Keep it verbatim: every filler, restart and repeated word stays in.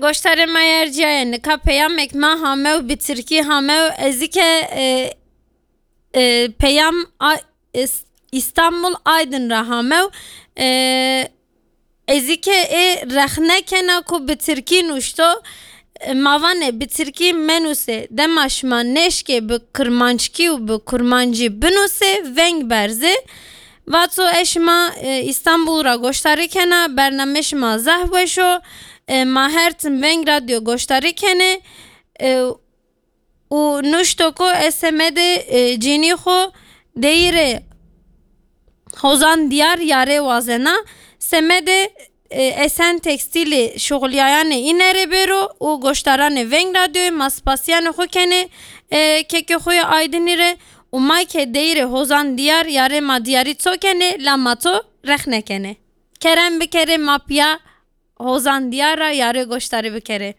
Goştarê me yer ciyaye, nika peyamek me hamew, bi tirkî hamew, ez ê ke, e, e, peyam a, Is-, Îstanbul Aydin ra hamew, e, ez ê ke ê rexne kena ku bi tirkî nuşto, e, ma vanê bi tirkî menusê, dema şima nêşkê bi kirmanckî û bi kurmancî binusê, veng berzê. Vato ez şima, e, Îstanbul ra goştarî kena, bername şima zehf weş o, e, ma her tim Veng Radyo goştarî kenê, e, û nuşto ku ez semedê, e, cînî xwu deyîrê Hozan Diyar yarê wazena, semedê, e, Esen Tekstîlê şuxulyayanê îne rê bêro û goştaranê Veng Radyoyê ma spasiyanê xwu kenê, e, kekê xwu yê Aydinî rê û ma ke deyîrê Hozan Diyar yarê ma diyarî ço kenê, la ma to rexne kenê. Kerem bikerê ma piya Hozan Diyar ra yarê goştarî bikerê.